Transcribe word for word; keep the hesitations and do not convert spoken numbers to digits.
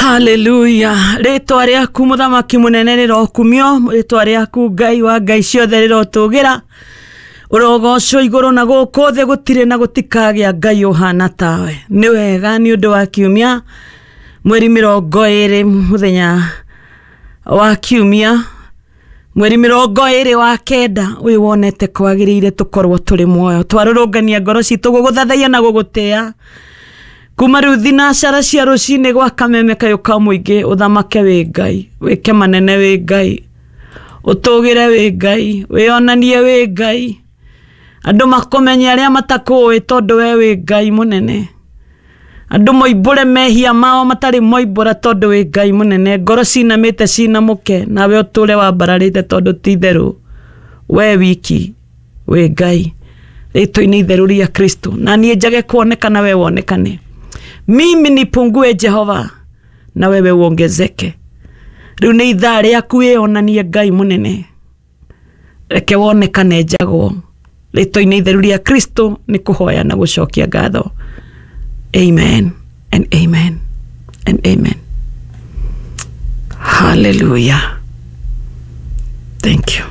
Haleluya. Rĩtwa rĩaku mũthamaki mũnene rĩrokumio, rĩtwa rĩaku Ngai wa ngai ciothe rĩrotũgĩra. Ũrogocwo igũrũ na gũkũ thĩ, gũtirĩ na gũtikagĩa Ngai ũhana tawe. Nĩ wega nĩ ũndũ wa kiumia mweri mĩrongo ĩrĩ, mũthenya wa kiumia mweri mĩrongo ĩrĩ wa kenda ũyũ wonete kwagĩrĩire tũkorwo tũrĩ muoyo, twarũrũngania ngoro citũ gũgũthathaiya na gũgũtĩa kuma rĩu thinacara cia rũcinĩ gwa kameme kayũ ka mũingĩ. Ũthamake wĩ Ngai, wĩke manene wĩ Ngai, ũtũgĩre wĩ Ngai, wĩonanie wĩ Ngai, andũ makũmenye arĩa matakũĩ tondũ we wĩ Ngai mũnene. Andũ moimbũre mehia mao matarĩ moimbũra tondũ wĩ Ngai mũnene. Ngoro cinamĩte cinamũke, nawe ũtũre wambararĩte tondũ ti itherũ we wiki wĩ Ngai. Rĩtwa-inĩ itheru rĩa Kristo, na niĩ njage kuonekana we wonekane, mimi nipungue Jehova na wewe uongezeke. Rĩu nĩ ithaa rĩaku wĩonanie Ngai mũnene, reke wonekane njagwo. Rĩtwa-inĩ itheru rĩa Kristo nĩ kũhoya na gũcokia ngatho. Amen and amen and amen. Hallelujah. Thank you.